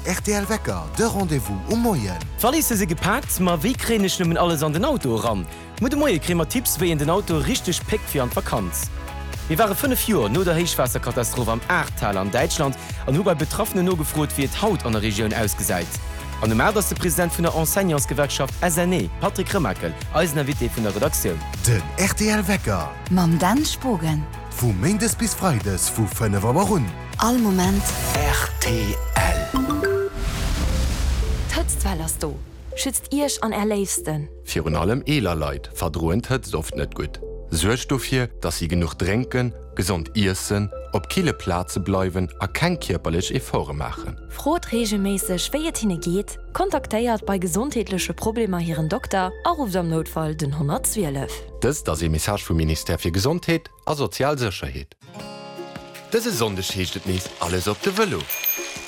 rtl Wecker, de Rendez-vous um Moien. D'Walisse si gepaakt, ma wéi kréien ech nëmmen alles an den Auto eran? Muer de Moie kréie mer Tipps, wéi een den Auto richteg péckt fir an d'Vakanz. Mir ware 5 Joer no der Héichwaasserkatastroph am Ahrtal an Däitschland an hu bei Betraffenen nogefrot, wéi et haut an der Regioun ausgesäit. An um 8 ass de President vun der Enseignantsgewerkschaft SNE, Patrick Remakel, eisen Invité vun der Redaktioun. Den rtl Wecker. Mam Dan Spogen. Vu Méindes bis Freides vu 5 Auer un. All Moment. Rtl. D'Hëtztwell ass do! Schützt Iech an Är Léifsten! Virun allem eeler Leit verdroen d'Hëtzt oft net gutt. Suergt dofir, dass si genuch drénken, gesond iessen, op kille Plaze bleiwen a keng kierperlech Efforte maachen. Frot reegelméisseg, wéi et hinne geet, kontaktéiert bei gesondheetleche Problemer hiren Dokter a rufft am Noutfall den 112. Dëst ass ee Message vum Ministère fir Gesondheet a sozial Sécherheet. Dëse Sonndeg heescht et nees Alles op de Vëlo!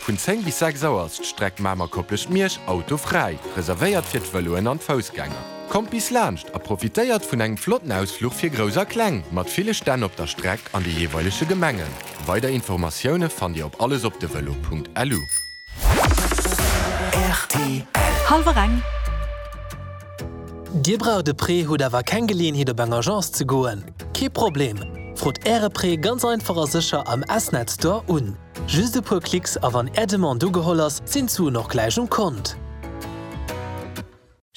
Vun 10 bis 6 Auer ass d'Streck Mamer-Koplescht-Miersch autofräi, reservéiert fir d'Vëloen an d'Foussgänger. Kommt bis laanscht a profitéiert vun engem flotten Ausfluch fir Grouss a Kleng, mat ville Stänn op der Streck an de jeeweilege Gemengen. Weider Informatioune fannt Dir op allesopdevelo.lu. Rtl. Hallwer eng. Dir braucht e Prêt, hutt awer keng Geleeënheet op eng Agence ze goen? Kee Problem! Frot Äre Prêt ganz einfach a sécher am S-Net Store un. Just e puer Klicks a wann Är Demande ugeholl ass, sinn d'Suen och gläich um Kont.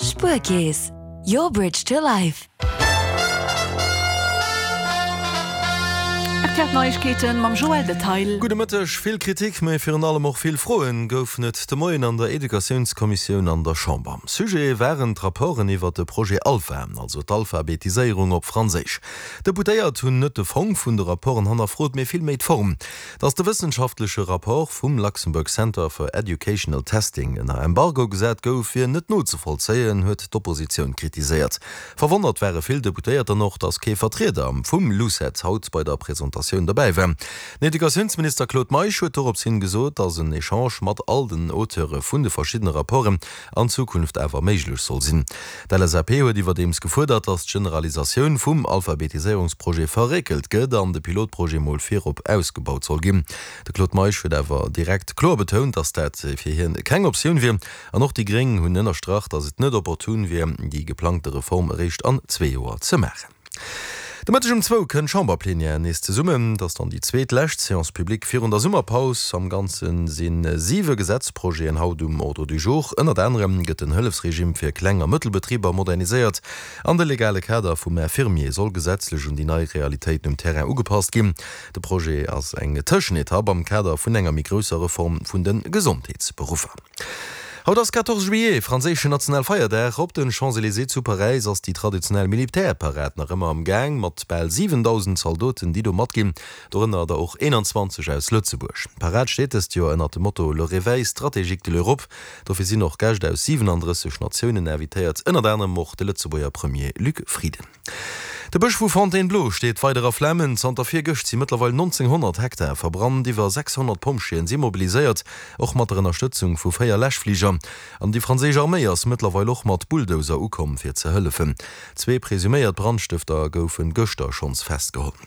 Spuerkeess, your bridge to life. Rtl Neiegkeeten mam Joël Detail. Gudde Mëtteg. Vill Kritik, mä virun allem och vill Froen goufen et de Moien an der Educatiounskommissioun an der Chamber. Sujet waren d'Rapporten iwwert de Projet Alpha, also d'Alphabetiséierung op Franséisch. D'Deputéiert hunn net de Fong vun de Rapporten hannerfrot, mee vill méi d'Form. Datt de wëssenschaftleche Rapport vum Luxembourg Center for Educational Testing ënner Embargo gesat gouf, wier net nozevollzéien, huet d'Oppositioun kritiséiert. Verwonnert ware vill Deputéiert dann och, datt kee Vertrieder vum LUCET haut bei der Presentatioun dobäi war. Den Educatiounsminister Claude Meisch huet dorops hin gesot, datt en Echange mat all den Auteure vun de verschiddene Rapporten an Zukunft awer méiglech soll sinn. D'LSAP huet iwwerdeems gefuerdert, datt d'Generalisatioun vum Alphabetiséierungsprojet verréckelt gëtt an de Pilotprojet mol virop ausgebaut soll ginn. De Claude Meisch huet awer direkt kloer betount, datt dat fir hien keng Optioun wier. An och déi Gréng hunn ënnerstrach, datt et net opportun wier, déi geplangte Reform eréischt an zwee Joer ze maachen. De Mëtteg um zwou kënnt d'Chamberplenière nees zesummen. Et ass dann déi zweet lescht Séance publique virun der Summerpaus. Am Ganze si siwe Gesetzprojeten haut um Ordre du jour. Ënnert anerem gëtt den Hëllefsregime fir Kleng a Mëttelbetriber moderniséiert an de legale Kader vum Infirmier soll gesetzlech un déi nei Realitéiten um Terrain ugepasst ginn. De Projet ass eng Tëschenetapp am Kader vun enger méi grousser Reform vun de Gesondheetsberuffer. Haut ass 14 Juillet, franséischen Nationalfeierdag. Op den Champs-Elysées zu Paräis ass déi traditionell Militärparad nach ëmmer am Gaang, mat bal 7.000 Zaldoten, déi do matginn, dorënner der och 21 aus Lëtzebuerg. D'Parad steet dëst Joer ënnert dem Motto Le réveil stratégique de l'Europe. Dofir sinn och Gäscht aus 37 Natiounen invitéiert, ënnert anerem och de Lëtzebuerger Premier Luc Frieden. De Bësch vu Fontainebleau steet weider a Flamen. Zanter virgëscht si mëttlerweil 1.900 Hektar verbrannt. Iwwer 600 Pompjeeën si mobiliséiert, och mat der Ënnerstëtzung vu 4 Läschfliger. An déi franséisch Arméi ass mëttlerweil och mat Bulldozer ukomm, fir ze hëllefen. Zwee presuméiert Brandstëfter goufe gëschter schonns festgeholl.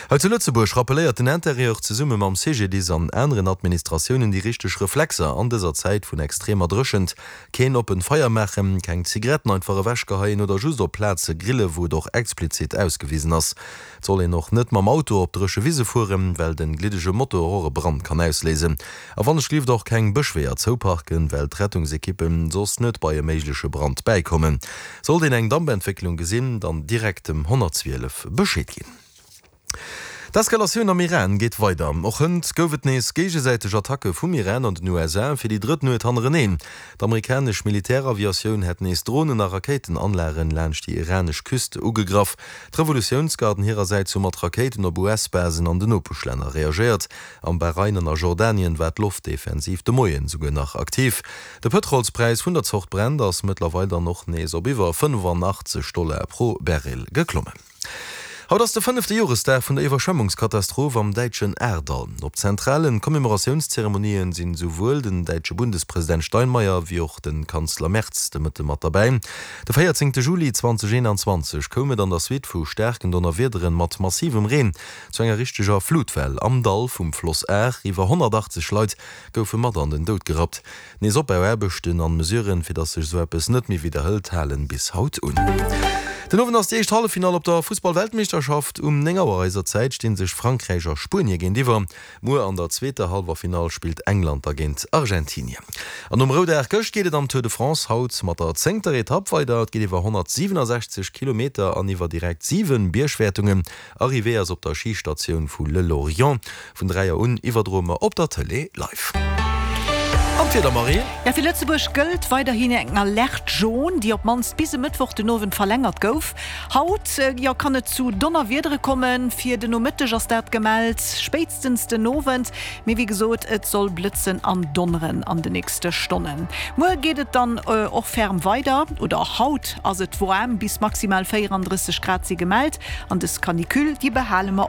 Hei zu Lëtzebuerg rappelléiert den Interieur zesumme mam CGDIS an aneren Administratiounen déi richteg Reflexer an dëser Zäit vun extremer Dréchent. Keen oppent Feier maachen, keng Zigaretten einfach ewechgeheien oder just op Plaze grille wou et och explizit ausgewisen ass. Et soll een och net mam Auto op dréche Wise fueren, well den gliddege Motor och e Brand kann ausléisen. A wannechgelift och keng Bëschweeër zouparken, well d'Rettungsekippen soss net bei e méigleche Brand bäikommen. Sollt een eng Dampentwécklung gesinn, dann direkt dem 112 Bescheed ginn. D'Eskalatioun am Iran geet weider. Och hënt gouf et nees géigesäiteg Attacke vum Iran an den USA fir déi drëtt Nuet hannereneen. D'amerikanesch Militäraviatioun hätt nees Dronen a Rakéitenanlagen laanscht déi iranesch Küst ugegraff. D'Revolutiounsgarden hirersäits hu mat Rakéiten op US-Basen an den Nopeschlänner reagéiert. Am Bahrain an a Jordanien war d'Loftdefensiv de Moien esouguer nach aktiv. De Pëtrolspräis vun der Zort Brent ass mëttlerweil dann och nees op iwwer 85 Dollar pro Barrel geklommen. Haut ass de fënnefte Joresdag vun der Iwwerschwemmungskatastroph am däitschen Ahrtal. Op zentralen Commemoratiounszeremonien sinn esouwuel den däitsche Bundespresident Steinmeier wéi och de Kanzler Merz de Mëtte mat derbäi. De 14 Juli 2021 koum et an der Suite vu staarken Donnerwiederen mat massivem Reen zu enger richteger Flutwell am Dall vum Floss Ahr. Iwwer 180 Leit goufe mat an den Doud gerappt. Nees Opbauaarbechten an Mesuren, fir dass sech esou eppes net méi widderhëlt, halen bis haut un. Den Owend ass déi éischt Halleffinall op der Fussball-Weltmeeschterschaft. Um 9 Auer eiser Zäit sti sech Frankräich a Spuenie géintiwwer. Muer an der zweeter Hallwerfinall spillt England da géint Argentinien. An nom Roudag gëscht geet et am Tour de France haut mat der zéngter Etapp weider. Et geet iwwer 167 Kilometer an iwwer direkt 7 Biergwäertungen. Arrivée ass op der Schistatioun vu Le Lorient. Vun 3 Auer un iwwerdroe mer op der Tëlee live. An d'Wieder, Marie? Jo, fir Lëtzebuerg gëllt weiderhin eng Alerte jaune, déi op d'mannst bis e Mëttwoch den Owend verlängert gouf. Haut, jo, kann et zu Donnerwiedere kommen. Fir den Nomëtteg ass dat gemellt, spéitstens den Owend. Mee wéi gesot, et soll blëtzen an donneren an de nächste Stonnen. Muer geet et dann och ferm weider, oder haut ass et woarm, bis maximal 34 Grad si gemellt. An dës Canicule, déi behale mer och.